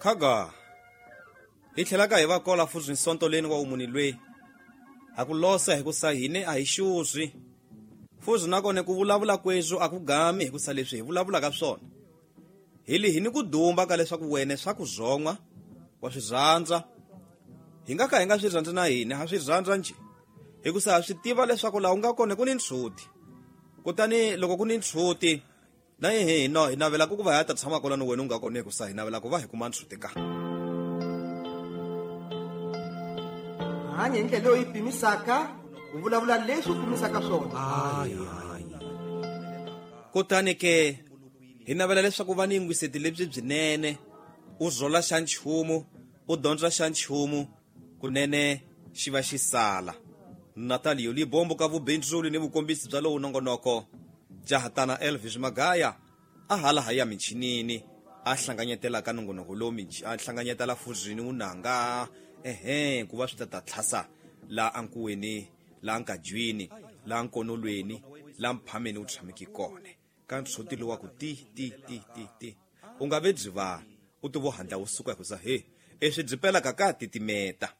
Khaga hi tlhelaka hi va kola fuzi nsontoleni wa umuni lweyi ha ku losa hikusa hine a hi xuzwi fuzi nakone ku vulavula kwezwo a ku gami hikusa leswi hi vulavulaka swona hi li hi ni ku dumba ka leswaku wene swa ku zon'wa wa swi rhandza hi nga ka hi nga swi rhandzi na hina ha swi rhandza njhe hikusa ha swi tiva leswaku laha u nga kona ku ni ntshuti kutani loko ku ni ntshuti na hi no hi navela ku va hi ya ta tshama kona ni wena u nga kona hikusa hi navela ku va hi kuma ntshuti ka Hanya hi ndlela leyi u yi pimisaka, u vulavula leswi u pimisaka swona. Kutani ke hi navela leswaku va ni yingwiseti lebyi byinene u zola xa nchumu u dyondza xa nchumu kunene xi va xi sala. Natalio Libombo ka vubindzuli ni vukombisi bya lowu nongonoko jahatana Elvis Magaya a hala ha ya minchinini a hlanganyetela ka nongonoko lowu a hlanganyetela fuzini wunanga ehe ku va swi ta ta tlhasa la ankuweni la nkajwini la nkonolweni la mphameni wu tshameki kona ka ntshoti lowa ku ti ti ti ti ti u nga ve byi va u ti vo handla wu suka hikusa he eswi byi pelaka ka titimeta.